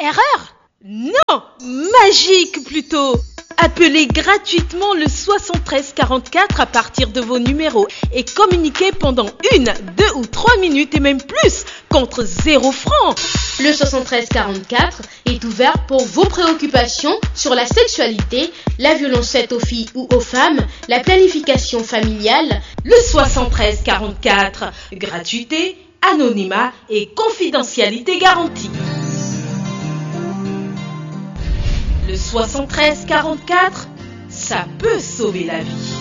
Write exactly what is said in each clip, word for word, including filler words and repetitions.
Erreur ? Non, magique plutôt. Appelez gratuitement le soixante-treize quarante-quatre à partir de vos numéros et communiquez pendant une, deux ou trois minutes et même plus contre zéro franc. Le soixante-treize quarante-quatre est ouvert pour vos préoccupations sur la sexualité, la violence faite aux filles ou aux femmes, la planification familiale. Le soixante-treize quarante-quatre, gratuité, anonymat et confidentialité garantie. Le soixante-treize quarante-quatre, ça peut sauver la vie.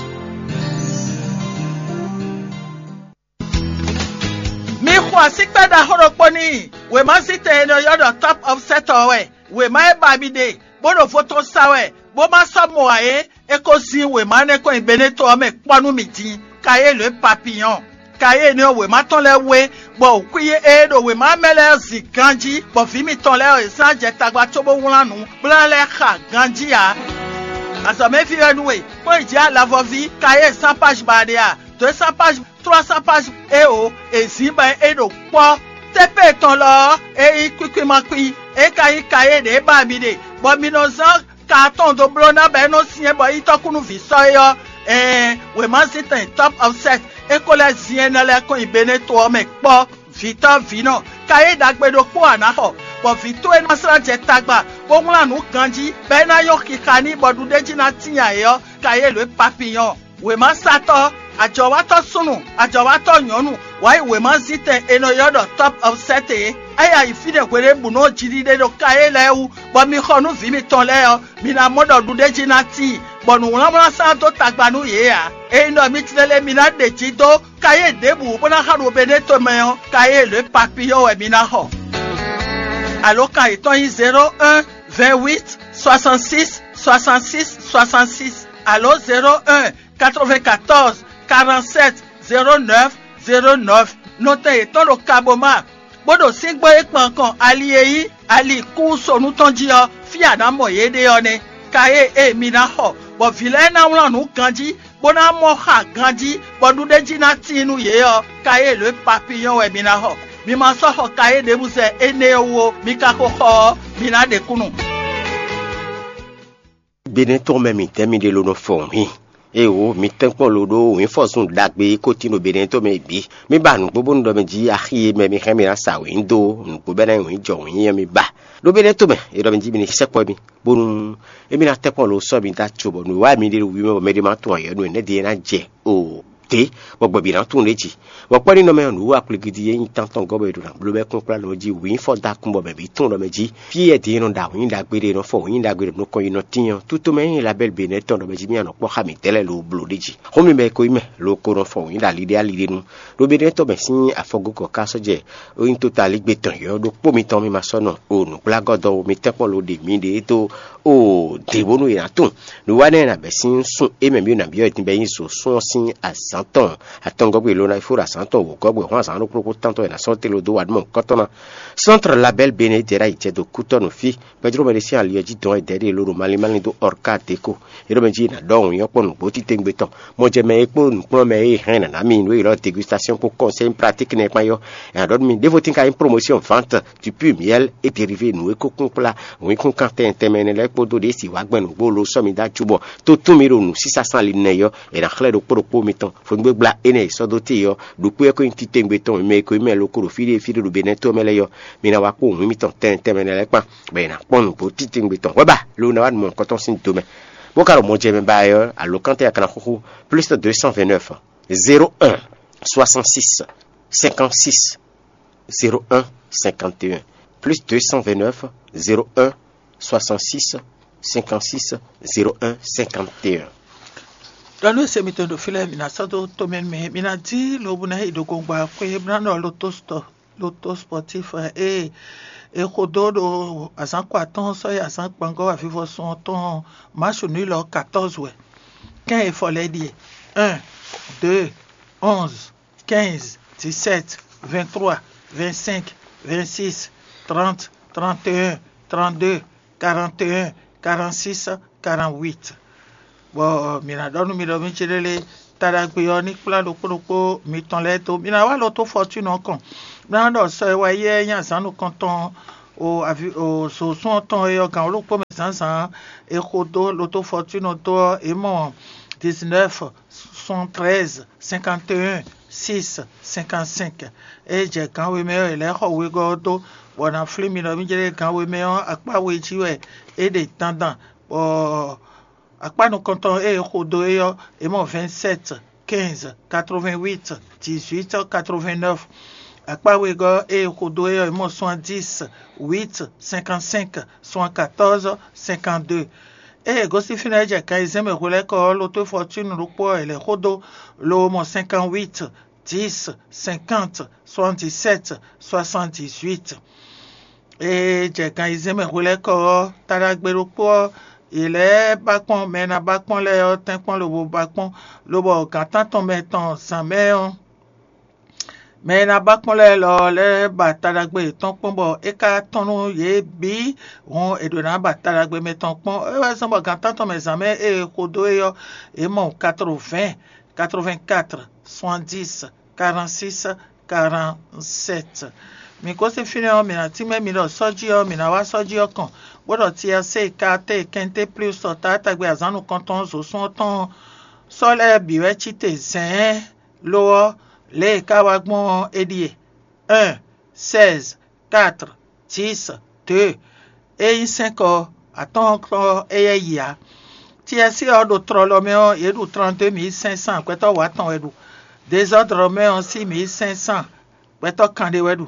Mi xo asíkpɛ́ ɖaxó ɖokpó n'i. Wěmazítɛn e nɔ ylɔ́ ɖɔ Top Offset ɔ́ wɛ. Wěma e ba mi ɖe, bó ɖo vo tɔn sa wɛ, bó ma sɔ́ mɔ ǎ é, é ko zin wěma énɛ́ kɔn nyi Beneto ɔ́ mɛ kpɔ́ nú mì din. Kayélu e papiyɔn. Kayélu énɛ́ ɔ́, wěma tɔn lɛ́ɛ wú é, bɔ wǔkwín e ɖo wěma mɛ lɛ́ɛ ɔ́ zin ganjí, bɔ vǐ mitɔn lɛ́ɛ ɔ́, è zán jɛ tagba cóbó wlán nǔ bó ná lɛ́ xa ganjí ǎ. Azɔ̌mɛví wɛ nú we, kpɔ́n yi jǐ alavɔví Kayélu sán páj ba ɖe a? Dǒ e sán páj trois cents pages eo è zǐn bɔ é ɖo kpɔ́. Tépée tɔn lɔ ɔ́, é nyí kwíkwímakwí, é ka nyí kayé ɖě ba mi ɖe, bɔ mi nɔ zán ka tɔn dó bló ná bɔ é nɔ syɛ́n bɔ é nyí tɔ́kú nú vǐ sɔ́ é ɔ́. Ɛɛn, wěmazíntɛn Top Offset é ko lɛ́ zin énɛ́ lɛ́ɛ kɔn nyi Beneto ɔ́ mɛ kpɔ́. Vǐtɔ́ vǐnɔ, kayé ɖagbe ɖokpó a nǎ xɔ, bɔ vǐ towe ná slá jɛ tagba, bó wlán nǔ ganjí, bɔ é ná nyɔ́ xixa n'i bɔ ɖuɖéjí ná tíin ayǐ ɔ́, kayé lǒ e papiyɔn. Wěmasatɔ́, ajɔ̌watɔ́ súnnu, ajɔ̌watɔ́ nyɔ̌nu, wǎ yi wěmazítɛn è nɔ ylɔ́ ɖɔ Top Offset é. É yi ayǐ fínɛ́ hweɖěbǔnu ɔ́ jiɖiɖe ɖo kayé lɛ́ɛ wú, bɔ mi xɔ nú vǐ mitɔn lɛ́ɛ ɔ́, mi ná mɔ ɖɔ ɖuɖéjí ná tíin, bɔ nǔwlánwlán sán dó tagba nú yě ǎ. Ényí ɖɔ mi tlɛ lɛ́ɛ mi ná ɖe jǐ dó kayé ɖěbǔ bó ná xa ɖo Beneto mɛ ɔ́, kayé lě papiyɔ́ wɛ mi ná xɔ. Alǒkan yětɔn nyí zéro un, vingt huit, soixante six, soixante six, soixante six, alo zéro un, quatre vingt quatorze, quarante sept, zéro neuf, zéro neuf. Nɔtɛn yětɔn ɖo Kaboma, bó ɖo síngbó e kpan kɔn ali e nyí ali kúsonu tɔn jí ɔ́, fí a nǎ mɔ yě ɖe ɔ́ nɛ́. Kayé e mi ná xɔ, bɔ vǐ lɛ́ɛ ná wlán nǔ ganjí, bó ná mɔ xa ganjí, bɔ ɖuɖéjí ná tíin nú yě ɔ́, kayé lě papiyɔ́n wɛ mi ná xɔ. Mi ma sɔ́ xɔ kayé ɖěbǔ zɛ énɛ́ ɔ́ wú ó, mi ka xo xɔ ɔ́, mi ná ɖe kúnnu. Benɛ́ tɔn mɛ mǐtɛn mi ɖe lo nɔ fɔ wǐin? Éeǒ, mi tɛ́nkpɔ́n lo ɖó wǐnfɔ́zun ɖagbe e ko tín ɖo Benɛ́ tɔn mɛ bǐ. Mi ba nǔgbó bónú ɖɔ mi jí axi e mɛ mi hɛn mi ná sa wǐin dó nǔgbó bɛ́ ná nyí wǐin jɔ wǐin ɔ́ mi ba. Ɖó Benɛ́ tɔn mɛ, è ɖɔ mi jí mi ní sɛkpɔ́ mi, bónú émí ná tɛ́nkpɔ́n lo sɔ́ mi dó aco bɔ nǔ e wá mi ɖe ɖo wǐ mɛ bɔ mɛɖé ma tunwun ayɔ̌ nú énɛ́ ɖíe ná jɛ o. Té, bɔ gbɛ̌bǐ ná tunwun ɖ'é jí. Bɔ kpɔ́ ní nɔ mɛ ɔ́, nǔ wa kplígídí e nyí tántɔn gɔ́ bɔ è ɖo nǎ bló bɛ́ kpínkplá nɔ jí wǐnfɔ́n dó akun bɔ mɛ bǐ tunwun ɖɔ mɛ jí fí e din e nɔ ɖo awǐin ɖagbe ɖe, è nɔ fɔ wǐin ɖagbe ɖo nukɔn yi nɔ tín ɔ́, tútomɛ e nyí Labɛ́li Benɛ́ tɔn ɖɔ mɛ jí mì nɔ kpɔ́ xá mǐdɛɛ lɛ́ɛ lo bló ɖ'é jí. Xó mi bɔ è ko nyí mɛ lo ko nɔ fɔ wǐin ɖo ali ɖé ali ɖé nu. Ɖó Benɛ́ tɔn mɛ sín afɔgókɔ ka sɔ́ jɛ ó nyí tótalígbe tɔn yɔ̌ ɖokpó mitɔn mi ma sɔ́ nɔ o nǔgblágɔ́ dɔn ó, mi tɛ́nkpɔ́n lo ɖe miɖée dó o dě bónú è nǎ tunwun. Nǔwanɛ e nǎ bɛ́ sín sún é mɛ mì nǎ byɔ́ din bɔ é nyí zo sún ɔ́ sín azǎn tɔn atɔngɔ́gbé lo ná fó ɖo azǎn tɔn wǒgɔ́gbé hɔn azǎn ɖokpó ɖokpó tántɔn e nǎ sɔ́ te lo dó wa ɖó mɔ̌hunkɔtɔn ná. Centre Label Bénin Dera yi jɛ do kútɔ́ nǔ fí. Gbɛjló mɛ ɖé sín ali ɔ́ jí dɔn e dɛ̌ ɖe lo ɖo malín malín dó Ɔrká Deko. É ɖɔ mɛ jí è nǎ ɖɔ wǐn ɔ́ kpɔ́n nǔgbó títewungbe tɔn. Mɔjɛmɛ e kpó nǔkplɔ́nmɛ e hɛn nǎ ná mi nǔ e ylɔ́ dégustation kpó conseil pratique nɛ́ kpán yɔ́. È nǎ ɖɔ nú mi ɖěvo tín ka nyí promotion vente du pur miel et dérivé nǔ e kó kún kplá wǐnkúnkan tɛntɛnmɛ énɛ́ lɛ́ɛ kpódó ɖě si wǎ gbɛn nǔgbó lo sɔ́ mi dó acu bɔ tó tún mi ɖo nǔsísá sán ali nɛ yɔ́. È nǎ xlɛ́ ɖokpó ɖokpó mitɔn fɔngbégbla énɛ́ e sɔ́ dó te yɔ́ ɖokpó ɛ ko nyí titewungbe tɔn mɛ e ko nyí mɛ lo ko ɖo fí ɖé fí ɖé ɖo Benɛ́ to mɛ lɛ́ɛ yɔ́. Mi ná wá kpó wǐn mitɔn tɛntɛnmɛ énɛ́ lɛ́ɛ kpán bɔ è nǎ kpɔ́n nǔgbó titewungbe tɔn hwɛ̌ ba lo ná wá nu mɔ̌hunkɔtɔn sín do mɛ. Bó ka ɖo mɔjɛmɛ ba ɛ ɔ́, alǒkánta e a ka ná xúxú plus deux cent vingt-neuf, zéro un, soixante-six, cinquante-six, zéro un, cinquante et un, plus deux cent vingt-neuf, zéro un, soixante-six, cinquante-six, zéro un, cinquante et un. Ɖɔ nú ese mitɔn ɖo fí lɛ́ɛ, mi ná sɔ́ dó tomɛ nú mɛ, mi ná dí lobo ná yi ɖo gongba xwé bó ná nɔ loto sport, loto sportif ɛ, ée è xo dó ɖo azǎn kɔ atɔ́ɔ́n sɔ́ yi azǎn kpangɔ́ avivɔsun ɔ́ tɔn, match nul ɔ́ quatorze wɛ. Kɛ́n e fɔ lɛ́ɛ ɖíe: un, deux, onze, quinze, dix-sept, vingt-trois, vingt-cinq, vingt-six, trente, trente et un, trente-deux, quarante et un, quarante-six, quarante-huit. Bɔ mi ná ɖɔ nú mi ɖɔ mí ce lélé, ta ɖagbe ɔ́ ní kplá ɖokpó ɖokpó mitɔn lɛ́ɛ dó. Mi ná wá lɔ tó fɔtúnu ɔ́ kɔn. Mi ná ɖɔ sɔ e wá yi ɛ nyí azǎn nukɔntɔn o avi o zǒsún ɔ́ tɔn e ɔ́ gǎn wǒ ɖokpó mɛ zǎnzǎn e xo dó lotó fɔtúnu dó ɔ́, é mɔ dix-neuf soixante-treize cinquante et un six cinquante-cinq. Ée jɛ gǎn we mɛ ɔ́, è lɛ́ xɔ wegɔ́ ɔ́ dó, bɔ è nǎ flín mi ɖɔ mí jlɛ́ gǎn we mɛ ɔ́, akpá we jí wɛ é ɖe dandan, bɔ akpá nukɔntɔn e è xo dó é ɔ́, è mɔ vingt-sept quinze quatre-vingt-huit dix-huit quatre-vingt-neuf. Akpá wegɔ́ e è xo dó é ɔ́, è mɔ soixante-dix huit cinquante-cinq soixante-quatorze cinquante-deux. Ée è gosín fínɛ́ jɛ kan e zɛ́n mɛ hwelɛ́kɔ ɔ́, lotó fɔtúnu ɖokpó ɔ́, è lɛ̌ xó dó, lo mɔ cinquante-huit dix cinquante soixante-dix-sept soixante-dix-huit. Ée jɛ gan ayizɛ́n mɛ hwelɛ́kɔ ɔ́, taɖagbe ɖokpó ɔ́, yě lɛ́ ba kpɔ́n, mɛ e ná ba kpɔ́n lɛ́ɛ ɔ́ tɛ́nkpɔ́n lobo ba kpɔ́n, lobɔ gǎn tántɔn mɛ tɔn zǎn mɛ ɔ́, mɛ e ná ba kpɔ́n lɛ́ɛ lɔ lɛ́ ba taɖagbe yětɔn kpɔ́n, bɔ é ka tɔ́n nú yě bǐ hɔn è ɖǒ ná ba taɖagbe mɛ tɔn kpɔ́n. É wɛ zɔ́n bɔ gǎn tántɔn mɛ zǎn mɛ e è xo dó é ɔ́, yě mɔ quatre-vingts, quatre-vingt-quatre, soixante-dix, quarante-six, quarante-sept. Mǐ gosín fínɛ́ ɔ́, mǐ ná tínmɛ mi ɖɔ sɔ́jí ɔ́, mǐ ná wá sɔ́jí ɔ́ kɔn, bó ɖɔ tiasé, katé, kɛnté plús ɔ́, taátagbe azǎn nukɔntɔn ɔ́, zǒsún ɔ́ tɔn ɔ́, sɔ́ lɛ́ɛ bǐ wɛ cí te zɛ̌ɛ́n. Lo ɔ́, lě e é ka wá gbɔn ɔ́, é ɖíe: un, seize, quatre, dix, deux. É nyí sɛ́nkɔ atɔ́ɔ́nkɔ éyɛ́ yi ǎ. Tiɛsí ɔ́ ɖo tlɔlɔ mɛ ɔ́, yě ɖu trente-deux mille cinq cents, gbɛtɔ́ wǒ atɔn wɛ ɖu. Dezɔ́dlɔ mɛ ɔ́, six mille cinq cents, gbɛtɔ́ kanɖé wɛ ɖu.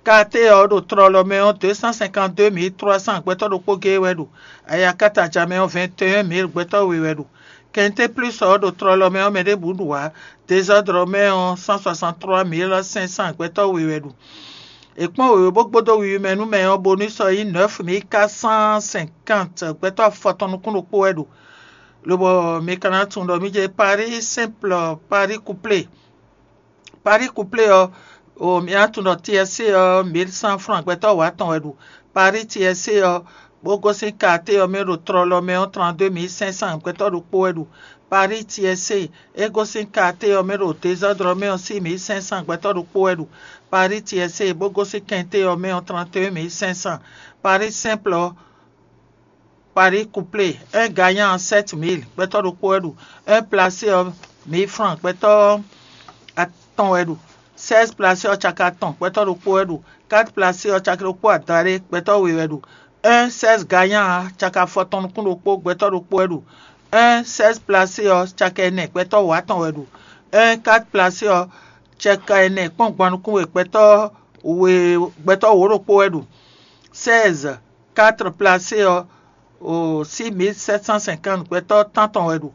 Katé ɔ́ ɖo tlɔlɔ mɛ ɔ́, deux cent cinquante-deux mille trois cents, gbɛtɔ́ ɖokpó géé wɛ ɖu. Ayakataja mɛ ɔ́, vingt et un mille, gbɛtɔ́ we wɛ ɖu. Kɛnté plús ɔ́ ɖo tlɔlɔ mɛ ɔ́, mɛ ɖěbǔ ɖu ǎ. Dezɔ́dlɔ mɛ ɔ́, cent soixante-trois mille cinq cents, gbɛtɔ́ we wɛ ɖu. È kpɔ́n wěwé bó gbódó wiwi mɛ nú mɛ ɔ́, bónú sɔ nyí neuf mille quatre cent cinquante, gbɛtɔ́ afɔtɔn nukún ɖokpó wɛ ɖu. Lobɔ mi ka ná tunwun ɖɔ mí jɛ Paris simple, Paris couplé. Paris couplé ɔ́, o mi ná tunwun ɖɔ tiɛsé ɔ́, mille cent francs, gbɛtɔ́ wǒ atɔn wɛ ɖu. Paris tiɛsé ɔ́, bó gosín katé ɔ́ mɛ ɖo tlɔlɔ mɛ ɔ́, trente-deux mille cinq cents, gbɛtɔ́ ɖokpó wɛ ɖu. Paris tiɛsé, é gosín katé ɔ́ mɛ ɖo dezɔ́dlɔ mɛ ɔ́, six mille cinq cents, gbɛtɔ́ ɖokpó wɛ ɖu. Paris tiɛsé, bó gosín kɛnté ɔ́ mɛ ɔ́, trente-deux mille cinq cents. Paris simple ɔ́, Paris couplé, un gagnant, sept mille, gbɛtɔ́ ɖokpó wɛ ɖu. Un placé ɔ́, mille francs, gbɛtɔ́ atɔn wɛ ɖu. Seize placé ɔ́, caki atɔn, gbɛtɔ́ ɖokpó wɛ ɖu. Quatre placé ɔ́, caki ɖokpó adaɖé, gbɛtɔ́ we wɛ ɖu. Un seize gagnant, caki afɔtɔn nukún ɖokpó, gbɛtɔ́ ɖokpó wɛ ɖu. Un seize placé ɔ́, caki ɛnɛ, gbɛtɔ́ wǒ atɔn wɛ ɖu. Un quatre placé ɔ́, caki ɛnɛ kpɔ́n gban nukún we, gbɛtɔ́ we, gbɛtɔ́ wǒ ɖokpó wɛ ɖu. Seize quatre placé ɔ́, o six mille sept cent cinquante, gbɛtɔ́ tántɔn wɛ ɖu.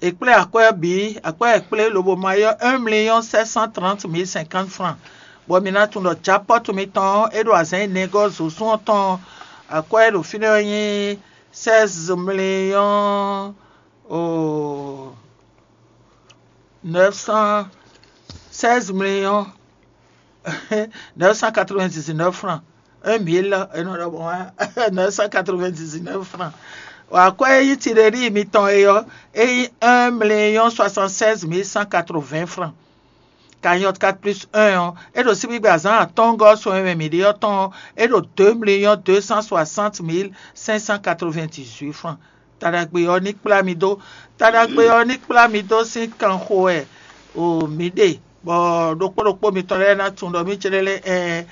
È kplé akwɛ́ ɔ́ bǐ, akwɛ́ e è kplé lobo ma é ɔ́, un million sept cent trente mille cinquante francs. Bɔ mi ná tunwun ɖɔ japɔ́tu mitɔn ɔ́, é ɖo azǎn énɛ́ gɔ́ zǒsún ɔ́ tɔn ɔ́, akwɛ́ e ɖo fínɛ́ ɔ́ nyí seize millions, o neuf cent, seize millions neuf cent quatre-vingt-dix-neuf francs. Un mille, e nɔ ɖɔ bɔ neuf cent quatre-vingt-dix-neuf francs. Akwɛ́ e nyí tiɖeɖi mitɔn é ɔ́, é nyí un million soixante-seize mille cent quatre-vingts francs. Cagnotte quatre plus un ɔ́, é ɖo síbígbe azǎn atɔ́ɔ́ngɔ́ sɔn e mɛ mǐ ɖe ɔ́ tɔn ɔ́, é ɖo deux millions deux cent soixante mille cinq cent quatre-vingt-dix-huit francs. Taɖagbe ɔ́ ní kplá mi dó. Taɖagbe ɔ́ ní kplá mi dó sín kanxo wɛ o mǐ ɖe, bɔ ɖokpó ɖokpó mitɔn lɛ́ɛ ná tunwun ɖɔ mí céɖélé ɛɛ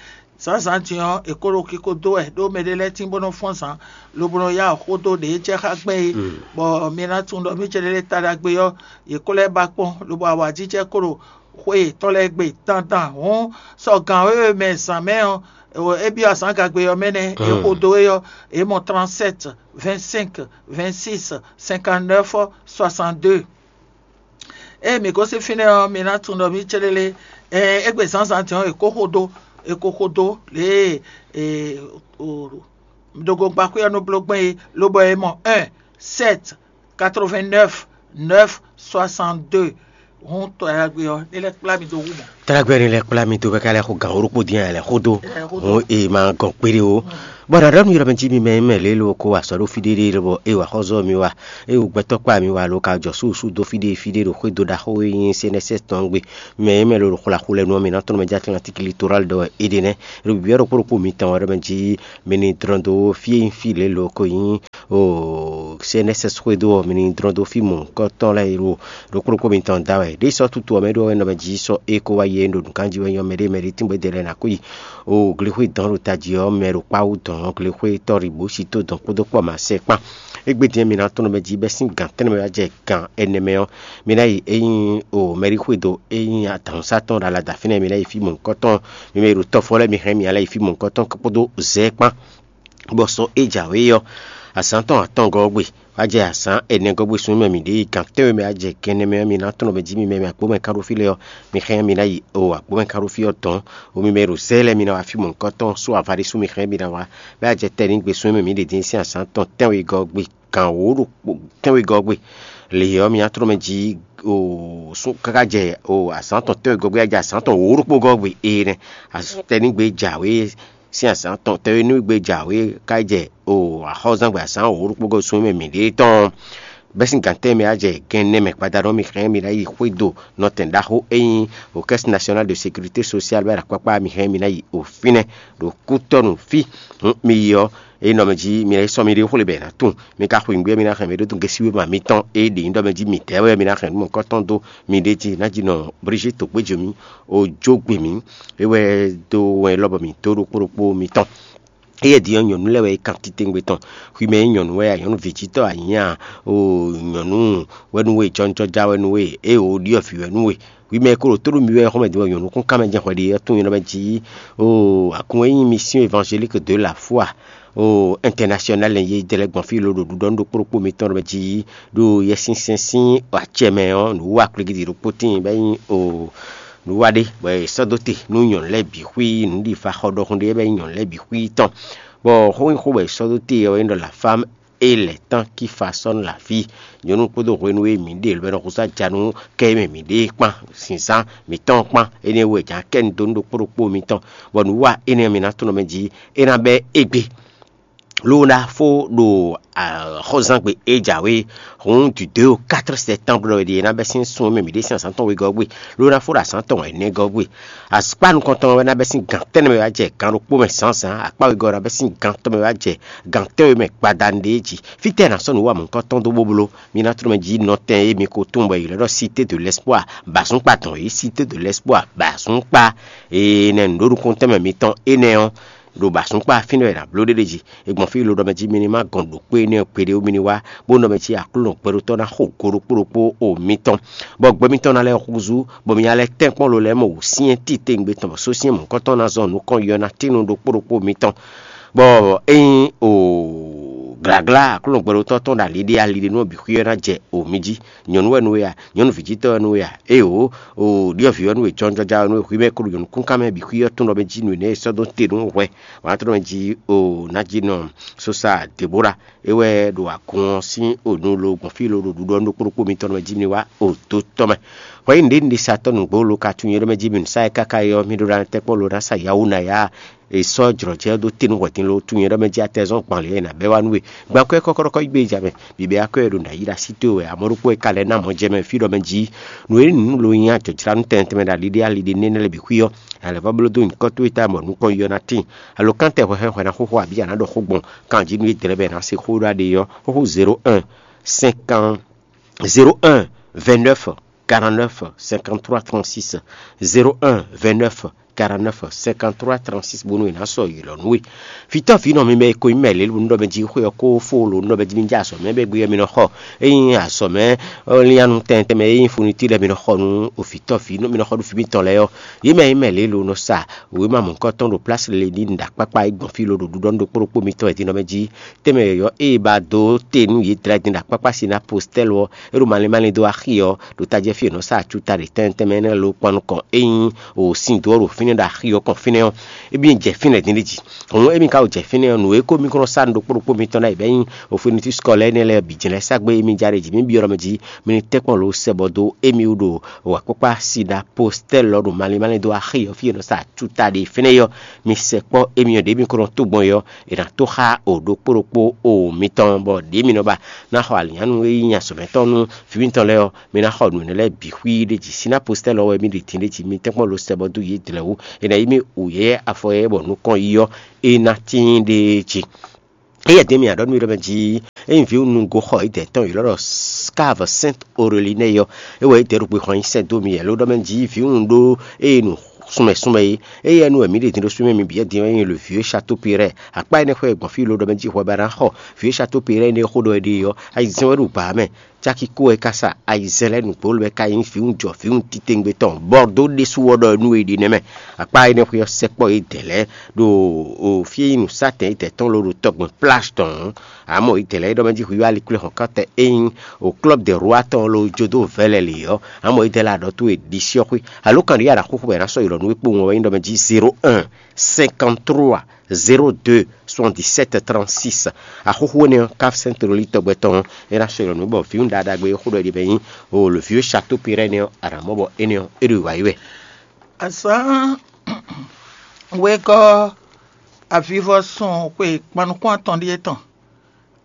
zǎnzǎn din ɔ́, è ko ɖo kiko dó wɛ, ɖó mɛɖé lɛ́ɛ tín bó nɔ́ fɔ́n zǎn, lobo nɔ yá xó dó ɖě jɛ xá gbɛn é, bɔ mi ná tunwun ɖɔ mí céɖélé taɖagbe ɔ́, yě ko lɛ́ ba kpɔ́n, lobo awǎjijɛ ko ɖo xwe yětɔn lɛ́ɛ gbe dandan. Hǔn sɔ gǎn wěwe mɛ zǎn mɛ ɔ́, é byɔ́ azǎngagbe ɔ́ mɛ nɛ́, é xo dó é ɔ́, é mɔ trente-sept, vingt-cinq, vingt-six, cinquante-neuf, soixante-deux. Ée mǐ gosín fínɛ́ ɔ́, mi ná tunwun ɖɔ mí céɖélé, ɛɛ, égbé zǎnzǎn din ɔ́, è ko xo dó, è ko xo dó lě e ɖogogbáxwé ɔ́ nɔ bló gbɛn é, lobɔ è mɔ un, sept, quatre-vingt-neuf, neuf, soixante-deux. Hǔn tɔ ɖagbe ɔ́, ní lɛ́ kplá mi dó wú mɔ̌. Trágbɛ́ ni lɛ́ kplá mi dó bɛ́ ká lɛ́ xo gǎn wóɖókpó dín ǎ lɛ́ xó dó. Hǔn è ma gɔn kpéɖé ó. Bɔ ɖaɖa nú yɔɖɔ mɛ jí mi mɛ e mɛ lě lo ko wa azɔ̌ ɖo fí ɖé ɖé lobɔ é wa xɔ́zɔ́ mi wa, é wo gbɛtɔ́ kpá mi wa lo ka jɔ súsú dó fí ɖé fí ɖé ɖo xwédo ɖaxó e nyí C N S S tɔn gbe. Mi mɛ e mɛ lo ɖo xwla xu lɛ nu ɔ́, mi ná tɔ́n mɛ jí Atlantique Littoral ɖɔ wɛ é ɖe nɛ́. Ɖo bǐbí ɔ́ ɖo kpó ɖokpó mitɔn wɛ ɖɔ mɛ jí mi ní dlɔ́n dó fí e nyí fí lě lo ko nyí o C N S S xwédo ɔ́, mi ní dlɔ́n dó fí mɔ̌hunkɔtɔn lɛ́ɛ e ɖo ɖo kpó ɖokpó mitɔn da wɛ. Ɖěe sɔ́ tutu ɔ́ mɛ ɖó wɛ nɔ mɛ jí sɔ́ é ko wá yi e ɖo nǔkanjí wɛ nyɔ́ mɛɖé mɛɖé tíngbɛ́ ɖe lɛ́ɛ ná kó yi. O glexwé dɔn ɖo tají ɔ́ mɛ ɖo kpáwú dɔn glexwé tɔ́ ɖi bǒ sí tó dɔn kpódó kpɔ́ ma sɛ kpán. Égbé din mi ná tɔ́n nɔ mɛ jí bɛ́ sín gǎn tɛ́nnɛ mɛ wá jɛ gǎn ɛnɛ mɛ ɔ́, mi ná yi é nyí o mɛɖí xwédo é nyí adǎnsátɔn ɖo alada fínɛ́, mi ná yi fí mɔ̌hunkɔtɔn. Mi mɛ e ɖo tɔ́fɔ lɛ́ɛ mi hɛn mi ná yi fí mɔ̌hunkɔtɔn kpódó zɛ̌ kpán. Bɔ sɔ é jǎwe ɔ́, azǎn tɔn atɔngɔ́ ɔ́ gbe, wá jɛ azǎn ɛnɛgɔ́ gbe sun mɛ mǐ ɖe yi gǎn tɛ́nwe mɛ wá jɛ gɛnɛ mɛ ɔ́, mi ná tɔ́n nɔ mɛ jí mi mɛ mi agbǒ mɛ kán ɖo fí lɛ́ɛ ɔ́, mi hɛn mi ná yi o agbǒ mɛ kán ɖo fí ɔ́ dɔn. O mi mɛ e ɖo zɛ́ lɛ́ɛ mi ná wá fí mɔ̌hunkɔtɔn sú ava ɖé sú mi hɛn mi ná wá, bɔ é wá jɛ tɛ́nǐgbe sun mɛ mǐ ɖe dín sín azǎn tɔn tɛ́nwegɔ́ gbe gǎn wǒ ɖokpó tɛ́nwegɔ́ gbe. Lě ɔ́, mi ná tɔ́n nɔ mɛ jí o sú káká jɛ o azǎn tɔn tɛ́nwegɔ́ gbe wá jɛ azǎn tɔn wǒ ɖokpó gɔ́ gbe énɛ́. Tɛ́nǐgbe jǎwe sín azǎn tɔn tɛ́nwe nú gbe jǎwe ká jɛ o axɔ́zán gbe azǎn wǒ ɖokpó gɔ́ sun mɛ mǐ ɖe tɔn. Bɛ́ sín gǎntɛ́n mɛ á jɛ gɛn nɛ́ mɛ gbadanu ɔ́, mi hɛn mi ná yi xwédo nɔtɛn ɖaxó e nyí o Caisse Nationale de Sécurité Sociale bɔ é ɖo akpákpá, mi hɛn mi ná yi o fínɛ́ ɖo kútɔ́nu fí. Hǔn mi yi ɔ́, é nɔ mɛ jí mi ná yi sɔ́ mi ɖé xwlé bɔ è nǎ tunwun. Mi ka xweyǐngbe ɔ́, mi ná hɛn mɛ ɖó dungɛ́ sí wéma mitɔn e ɖě nyí ɖɔ mɛ jí midɛɛ wɛ mi ná hɛn nǔ mɔ̌hunkɔtɔn dó mi ɖě jí ná jí nɔ Brigitte Togbéjomi o jó gbe mǐ. É wɛ dó wɛn élɔ́ bɔ mǐ dó ɖokpó ɖokpó mitɔn. Éyɛ́ din ɔ́, nyɔ̌nu lɛ́ɛ wɛ é kan titewungbe tɔn. Xwi mɛ e nyí nyɔ̌nu wɛ a, nyɔ̌nu vǐjítɔ́ a nyǐ a, o nyɔ̌nu wɛ nú we, jɔnjɔja wɛ nú we, ée o ɖiɔ vǐ wɛ nú we. Xwi mɛ e ko ɖo tó ɖo mi wɛ xɔ́mɛ din wɛ nyɔ̌nu kún kan mɛ jɛ́n hwɛ ɖe ɔ́ tunwun nyɔ̌nu mɛ jí o agun e nyí Mission Évangélique de la Foi o Internationale e jɛ lɛ́ gbɔn fí lo ɖo ɖuɖɔ nú ɖokpó ɖokpó mitɔn ɖɔ mɛ jí ɖo Yɛsinsɛn sín acɛ mɛ ɔ́, nǔwiwa kwlígídi ɖokpó tíin bɔ é nyí o nǔwiwa ɖé bɔ è sɔ́ dó te nú nyɔ̌nu lɛ́ɛ bǐ xwí nǔɖifa xɔ ɖɔhun ɖé bɔ é nyí nyɔ̌nu lɛ́ɛ bǐ xwí tɔn. Bɔ xó nyí xó bɔ è sɔ́ dó te ɔ́ é ɖɔ la femme et les temps qui façonnent la vie. Nyɔ̌nu kpódó hwenu e mǐ ɖe lǒ bɔ è nɔ húzú aja nú kɛ e mɛ mǐ ɖe é kpán, zǐnzán mǐtɔn kpán, énɛ́ wú è jǎ kɛ nu dó nú ɖokpó ɖokpó mitɔn, bɔ nǔwiwa énɛ́ ɔ́ mi ná tunwun mɛ jí é ná bɛ́ égbé. Ló ná fó ɖo xɔzán gbe é jǎwe hǔn du deux au quatre septembre ɖɔ è ná bɛ́ sín sun e mɛ mǐ ɖe sín azǎn tɔn wegɔ́ gbe, ló ná fó ɖo azǎn tɔn ɛnɛgɔ́ gbe. Akpá nukɔntɔn wɛ ná bɛ́ sín gǎn tɛ́nnɛ mɛ wá jɛ gǎn ɖokpó mɛ zǎnzǎn, akpá wegɔ́ ná bɛ́ sín gǎn tɔn mɛ wá jɛ gǎn tɛ́nwe mɛ gbadanu ɖé jí. Fítɛ́ è nǎ sɔ́ nǔ wa mɔ̌hunkɔtɔn dó bó bló? Mi ná tló mɛ jí nɔtɛn e mi ko tunwun bɔ è ylɔ́ ɖɔ Cité de l'Espoir, bǎsúnkpa tɔn é, Cité de l'Espoir, bǎsúnkpa. Énɛ́ nǔɖó nukúntɛ́nmɛ mitɔn énɛ́ ɔ́, ɖo bǎsúnkpa fínɛ́ wɛ è nǎ bló ɖé ɖé jí. È gbɔn fí lo ɖɔ mɛ jí mi ní ma gɔn ɖo kpé énɛ́ ɔ́ gbeɖé ó, mi ní wá, bó nɔ mɛ jí Aklúnɔ gbɛ ɖokpó ná xo go ɖokpó ɖokpó o mitɔn, bɔ gbɛ mitɔn ná lɛ́ húzú, bɔ mi ná lɛ́ tɛ́nkpɔ́n lo lɛ́ɛ mɔ wǔsyɛ́n titewungbe tɔn, bɔ sósyɛ́n mɔ̌hunkɔtɔn ná zɔn nukɔn yɔ ná tín nú ɖokpó ɖokpó mitɔn. Bɔ ényí o glǎglá Aklúnɔ gbɛɖotɔ́ tɔn ɖo ali ɖé ali ɖé nú ɔ́ bǐ xwí ɔ́ ná jɛ o mi jí. Nyɔ̌nu wɛ nú we a? Nyɔ̌nu vǐjítɔ́ wɛ nú we a? Éeǒ, o ɖyɔ̌vǐ wɛ nú we, jɔnjɔja wɛ nú we, hwi mɛ e ko ɖo nyɔ̌nu kúnkan mɛ bǐ xwí ɔ́ tɔn ɖɔ mɛ jí nǔ énɛ́ e sɔ́ dó te nú hwɛ. Wǎn tɔn mɛ jí o ná jí nɔ sosa Debora. É wɛ ɖo agun ɔ́ sín onu lo gbɔn fí lo ɖo ɖuɖɔ nú ɖokpó ɖokpó mitɔn mɛ jí mi wá o dó tɔn mɛ. Hwɛ nyí nǔɖé nǔɖé sa tɔ́ nǔgbó lo ka tunwun é ɖɔ mɛ jí mi nǔ sa é káká é ɔ́, mi ɖó ɖa tɛ́kpɔ́ lo ná sa yawú ná yá è sɔ́ jlɔ̌ jɛ dó te nú hwɛ̌tin lo tunwun é ɖɔ mɛ jí atɛzɔ́n gban lě e è nǎ bɛ́ wá nú we. Gban kwɛ́ kɔ́kɔ́ɖɔkɔ́ yí gbe ja mɛ, bǐbɛ́ akwɛ́ e ɖo nǎ yí ɖo así towe wɛ, amɔ̌ ɖokpó e ka lɛ́ ná mɔ̌ jɛ mɛ fí ɖɔ mɛ jí nǔ e nǔ lo nyí ajɔ̌jlánú tɛnmɛ tɛnmɛ ɖo ali ɖé ali ɖé nɛ́nɛ́ lɛ́ɛ bǐ xwí ɔ́, alɛ̌ vɔ́ bló dó nyǐkɔ towe ta bɔ nukɔn yɔ ná tíin. Alo kántɛ hwɛhwɛ hwɛ ná xóxó abǐ a nǎ ɖɔ xó gbɔn kan jí nú édɛɛ lɛ́ɛ bɔ è nǎ se xó ɖó aɖe ɔ́, xóxó zéro un cinquante zéro un vingt-neuf quarante-neuf cinquante-trois trente-six, zéro un vingt-neuf quarante-neuf cinquante-trois trente-six bónú è nǎ sɔ́ ylɔ̌ nú we. Vǐtɔ́ vǐ nɔ mi mɛ e ko nyí mɛ lě lo nú ɖɔ mɛ jí xwé ɔ́ kó fó lo nú ɖɔ mɛ jí mi jɛ azɔ̌ mɛ bɔ égbé ɔ́ mi nɔ xɔ. Ényí azɔ̌ mɛ lianu tɛntɛn mɛ e nyí funití lɛ́ɛ mi nɔ xɔ nú vǐtɔ́ vǐ nɔ mi nɔ xɔ nú vǐ mitɔn lɛ́ɛ ɔ́, yě mɛ e nyí mɛ lě lo nɔ sa wěma mɔ̌hunkɔtɔn ɖo plásí lě ní nǔɖaxkpákpá e gbɔn fí lo ɖo ɖuɖɔ nú ɖokpó ɖokpó mitɔn wɛ din nɔ mɛ jí. Tɛnmɛ yɔ̌yɔ́ e è ba dó te nú yě dlɛ́ din ɖo akpákpá sín ná postɛ́lu ɔ́, é ɖo malín malín dó axi ɔ́, ɖo tají fí è nɔ sa acuta ɖě tɛnmɛ tɛnmɛ énɛ́ lo kpan nukɔn é nyí o sin dó ɔ́ ɖo fínɛ́ ɖo axi ɔ́ kɔn fínɛ́ ɔ́, émí jɛ fínɛ́ dín ɖé jí. Hǔn émí ka wo jɛ fínɛ́ ɔ́, nǔ e ko mí kɔn nɔ sa nǔ ɖokpó ɖokpó mitɔn lɛ́ɛ bɛ́ nyí ofinitísikɔ lɛ́ɛ énɛ́ lɛ́ɛ bǐ jɛ́n lɛ́ɛ sá gbé émí já ɖé jí. Mí byɔ́ ɖɔ mɛ jí mí ní tɛ́nkpɔ́n lo sɛ bɔ dó émí wú ɖo wǎkpákpá sida postɛ́l ɔ́ ɖo malín malín dó axi ɔ́ fí e è nɔ sa acuta ɖe fínɛ́ é ɔ́, mi sɛkpɔ́ émí ɔ́ ɖě mi ko nɔ tó gbɔn é ɔ́, è nǎ tó xá o ɖokpó ɖokpó o mitɔn, bɔ ɖě mi nɔ ba ná xɔ alǐnnyánú e nyí azɔ̌mɛtɔ́ nú vǐ mitɔn lɛ́ɛ ɔ́, mi ná xɔ nǔ énɛ́ lɛ́ɛ bǐ xwíí ɖé jí. Síná postɛ́l ɔ́ wɛ mí ɖi din ɖé jí, mi tɛ́nkpɔ́n lo sɛ bɔ dó yě dlɛ̌ wú, è nǎ yí mì wǔyɛ́yɛ́ afɔ yɛ́yɛ́ bɔ nukɔn yi ɔ́, é ná tíin ɖéé jí. Éyɛ́ din mì aɖɔ̌ nú mi ɖɔ mɛ jí, ényí vǐwunúgo xɔ idɛ̌ tɔn ylɔ́ ɖɔ Cave Sainte Aurélie nɛ́ ɔ́, é wɛ é dɛ̌ ɖo xwe xɔ nyi sɛ́ dó mi wɛ ló ɖɔ mɛ jí vǐwun ɖó eye nu sunmɛ sunmɛ é. Éyɛ́ nu wɛ mǐ ɖe din ɖó súnmɛ mi bǐ din ɔ́ nyi le vieux Château Pérez. Akpá énɛ́ xwé gbɔn fí ló ɖɔ mɛ jí hwɛ ba ná xɔ vieux Château Pérez énɛ́ xó ɖɔ é ɖe ɔ́, ayizɛ́n wɛ ɖo gbǎ mɛ. Cákíkó wɛ ka sa ayizɛ́n lɛ́ɛ nǔgbó lɛ́ɛ ka nyí vǐwun jɔ vǐwun titewungbe tɔn bɔ dó ɖésú ɔ́ ɖɔ nú è ɖi nɛ́ mɛ. Akpá énɛ́ xwé ɔ́ sɛkpɔ́ yědɛɛ lɛ́ɛ ɖo fí e nyí nǔsátɛn yědɛɛ tɔn ló ɖo tɔgbɛn plage tɔn ɔ́. Amɔ̌ yědɛɛ lɛ́ɛ é ɖɔ mɛ jí hwíwá likwlɛ́ hɔn ká tɛ é nyí o club de roi tɔn ló jó dó vɛ̌ lɛ́ lě ɔ́, amɔ̌ yědɛɛ lɛ́ɛ aɖɔ towe ɖisí ɔ́ xwé. Alo kan ɖě aɖaxóxó bɔ è nǎ sɔ́ ylɔ̌ nú we kpowun ɔ́ wɛ nyí ɖɔ mɛ jí zéro un cinquante-trois zéro deux soixante-dix-sept trente-six. Axóxó énɛ́ ɔ́, Cave Sainte Aurélie tɔgbɛ tɔn ɔ́, é ná sɔ́ ylɔ̌ nú bɔ vǐwun ɖaɖagbe e xó ɖɔ é ɖi bɛ nyí o le vieux Château Pérez nɛ́ ɔ́, aɖǎ mɔ bɔ énɛ́ ɔ́, é ɖo wǎ yi wɛ. Azǎn wegɔ́ avivɔsun xwe gban nukún atɔn ɖíe tɔn.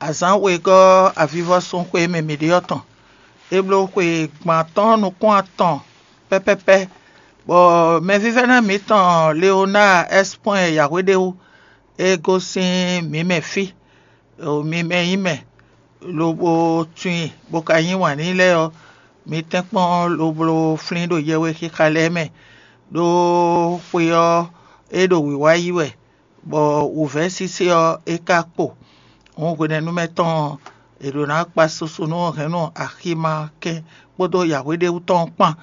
Azǎn wegɔ́ avivɔsun xwe e mɛ mǐ ɖe ɔ́ tɔn. É bló xwe gban atɔ́ɔ́n nukún atɔn pɛ́pɛ́pɛ́, bɔ mɛvívɛ́ná mǐtɔn Leonáa Ɛ́spɔ́n yǎhweɖéwú é gosín mǐ mɛ fí, mi mɛ nyí mɛ, lobo tunwun i, bó ka yí wǎn n'i lɛ́ɛ ɔ́, mi tɛ́nkpɔ́n lobo flín ɖo yɛhwexixa lɛ́ɛ mɛ, ɖó xwe ɔ́, é ɖo wǐwá yí wɛ, bɔ wǔvɛ́ sésé ɔ́, é ka kpo. Hǔn hwenɛ́nu mɛ tɔn ɔ́, è ɖǒ ná kpa susu nú hɛ̌nnu aximá kɛn kpódó yǎhweɖéwú tɔn ɔ́ kpán.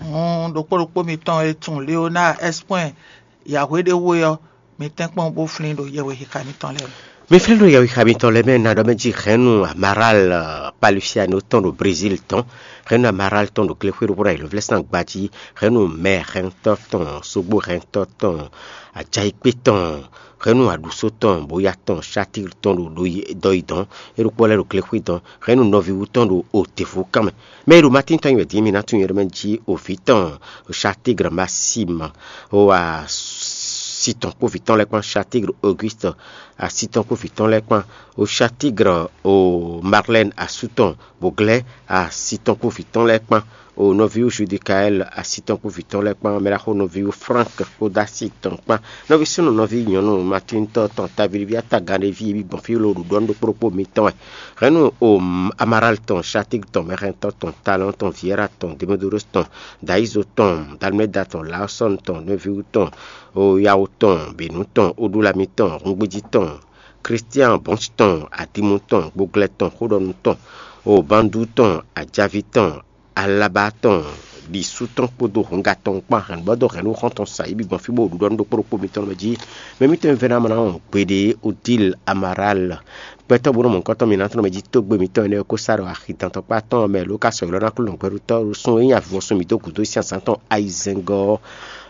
Hǔn ɖokpó ɖokpó mitɔn e tunwun Leonáa Ɛ́spɔ́n yǎhweɖéwú é ɔ́, mi tɛ́nkpɔ́n bó flín ɖo yɛhwexixa mitɔn lɛ́ɛ mɛ. Mi flín ɖo yɛhwexixa mitɔn lɛ́ɛ mɛ ná ɖɔ mɛ jí hɛ̌nnu Amaral Palusiano tɔn ɖo Brezíl tɔn, hɛ̌nnu Amaral tɔn ɖo Glexwé ɖokpó ɖo ayǐlóvlɛ́sán gbají, hɛ̌nnu mɛ hɛntɔ́ tɔn, sógbó hɛntɔ́ tɔn, ajayikpé tɔn, hɛ̌nnu aɖǔsó tɔn, bóyá tɔn, Satír tɔn ɖo dɔ yi dɔn, é ɖokpó lɛ́ɛ ɖo Glexwé dɔn, hɛ̌nnu nɔví wú tɔn ɖo Otevú kán mɛ. Mɛ e ɖo Matín tɔn nyi wɛ din mi ná tunwun yɛ ɖɔ mɛ jí o vǐ tɔn Satígr Masíma, o asi tɔn kpó vǐ tɔn lɛ́ɛ kpán, Satígr Ogúst asi tɔn kpó vǐ tɔn lɛ́ɛ kpán, o Satígr o Marlɛ́n asú tɔn, Boglɛ́ asi tɔn kpó vǐ tɔn lɛ́ɛ kpán, o nɔví Judikaɛl asi tɔn kpó vǐ tɔn lɛ́ɛ kpán, mɛ ɖaxó nɔví Flánk kpódó asi tɔn kpán, nɔví súnnu nɔví nyɔ̌nu Matíntɔ́ tɔn, tavíví atagán ɖé ví e bí gbɔn fí lo ɖuɖɔ nú ɖokpó ɖokpó mitɔn wɛ. Hɛ̌nnu o Amaral tɔn, Satígr tɔn, Mɛxɛntɔ́ tɔn, Talɔn tɔn, Viɛ́ra tɔn, Demodorus tɔn, Dayizo tɔn, Dalmɛda tɔn, Laosɔ́n tɔn, Nɔvíwú tɔn, o Yawo tɔn, Běnú tɔn, Odulami tɔn, Hungbejí tɔn, Kristian Bɔ́nci tɔn, Adimu tɔn, Gboglɛ tɔn, Xóɖɔnu tɔn, o Bandu tɔn, Ajavi tɔn, Alaba tɔn, ɖi sú tɔn kpódó hɔnga tɔn kpán hɛn bɔ dó hɛn nú xɔ́ntɔn sa yí bǐ gbɔn fí bó ɖuɖɔ nú ɖokpó ɖokpó mitɔn mɛ jí. Mɛ mitɔn e vɛ́ ná mɔ ná wɔn gbeɖé Odil Amaral, gbɛtɔ́ bó nɔ mɔ nukɔntɔn mǐnátɔn mɛ jí tógbe mǐtɔn énɛ́ ko sá ɖo axi dantɔkpá tɔn mɛ ló ka sɔ́ ylɔ́ ná kplɔ́n gbɛɖutɔ́ sun e nyí avivɔsun mǐ dó gǔdo sín azǎn tɔn ayizɛ́ngɔ́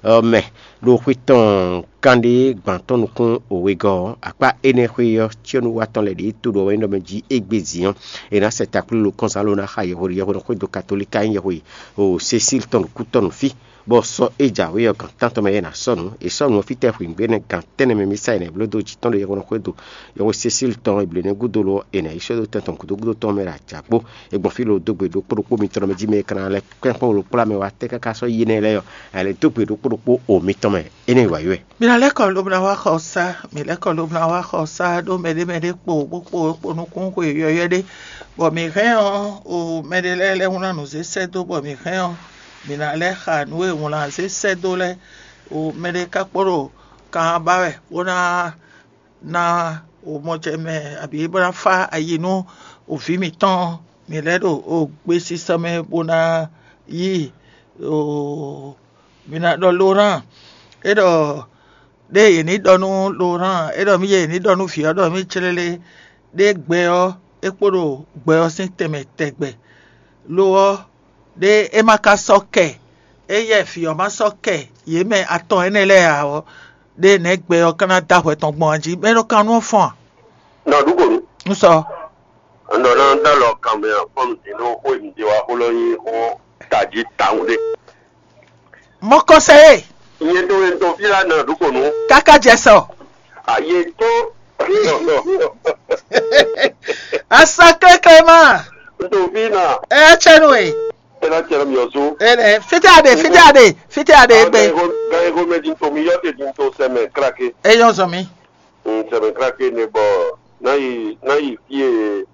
ɔ́ mɛ, ɖo xwé tɔn kanɖé gban tɔn nukún wegɔ́ ɔ́. Akpá énɛ́ xwé ɔ́, cyɔ́núwatɔ́ lɛ́ɛ ɖě to ɖo wɛ nyí ɖɔ mɛ jí égbé zǐn ɔ́, è nǎ sɛ takplílo kɔnzán ló ná xa yɛhweɖi yɛhweɖɔ xwé dó katolík ka nyí yɛhwe o Cecíl tɔn ɖo kútɔ́ nú fí, bɔ sɔ é jǎwe ɔ́ gan tántɔn mɛ é nǎ sɔ́ nǔ. È sɔ́ nǔ ɔ́ fítɛ́ hwǐngbe énɛ́ gan tɛ́nnɛ mɛ mì sá è nǎ bló dó jǐ tɔn ɖo yɛhweɖɔ xwé do yɛhwe Cecíl tɔn e blǒ nɛ́ gúdo lo ɔ́, è nǎ yi sɔ́ dó tɛn tɔn gǔdo gúdo tɔn mɛ ɖo ajǎkpó. È gbɔn fí lo dó gbe ɖokpó ɖokpó mitɔn mɛ jí mɛ e ka ná lɛ́ kpɛ́n kpɔ́n wlo kplá mɛ wá tɛ́ káká sɔ́ yi énɛ́ lɛ́ɛ ɔ́, è lɛ́ dó gbe ɖokpó ɖokpó o mitɔn mɛ. Énɛ́ wǎ yi wɛ. Mǐ ná lɛ́ kɔ lobɔ ná wá xɔ sá, mǐ lɛ́ kɔ lobɔ ná wá xɔ sá ɖó mɛɖé mɛɖé kpo bó kpo kpo nukún xwe yɔ̌yɔ́ ɖé, bɔ mǐ hɛn ɔ́, o mɛɖé lɛ́ɛ lɛ́ wlán nǔ zé sɛ́ dó, bɔ mǐ hɛn ɔ́, mǐ ná lɛ́ xa nǔ e wlán zé sɛ́ dó lɛ́ɛ, o mɛɖé ka kpo ɖo kan ba wɛ bó ná ná o mɔ jɛ mɛ abǐ bó ná fá ayi nú o vǐ mǐtɔn. Mǐ lɛ́ ɖo o gbesisɔ mɛ bó ná yí o mǐ ná ɖɔ Lorán, é ɖɔ ɖé yě ní ɖɔ nú Lorán, é ɖɔ mì yě ní ɖɔ nú vǐ ɔ́ ɖɔ mì clélé, ɖé gbɛ ɔ́ é kpo ɖo gbɛ ɔ́ sín tɛnmɛ tɛgbɛ. Lo ɔ́, ɖé é ma ka sɔ́ kɛ Éyɛ́ vǐ ɔ́ ma sɔ́ kɛ yě mɛ atɔn énɛ́ lɛ́ɛ ǎ ɔ́, ɖé nɛ̌ gbɛ ɔ́ ka ná dó ahwɛ tɔn gbɔn jí? Mɛ nɔ kan nú ɔ́ fɔ́n a? Nɔ ɖu kǒ nu. Un sɔ. Nɔ ná dó alɔ kan mɛ afɔ́n din ɖó xó e un ɖe wá xó lɔ nyí xó tají tawun ɖé. Mɔkɔsɛ e. Nyɛ ɖo e ɖo fí la nɔ ɖu kǒ nu. Káká jɛ sɔ. Ayi tó. Asa kléklé ma. Ɖo fí na. Ɛ tsɛ nu e. Ena tsɛ mi ɔzu. Ele fite ade fite ade fite ade egbe. Gan ego mɛ din to mi yɔ te din to sɛmɛ krake. Eyɔn zɔn mi. Sɛmɛ krake ne bɔ na yi na yi fie.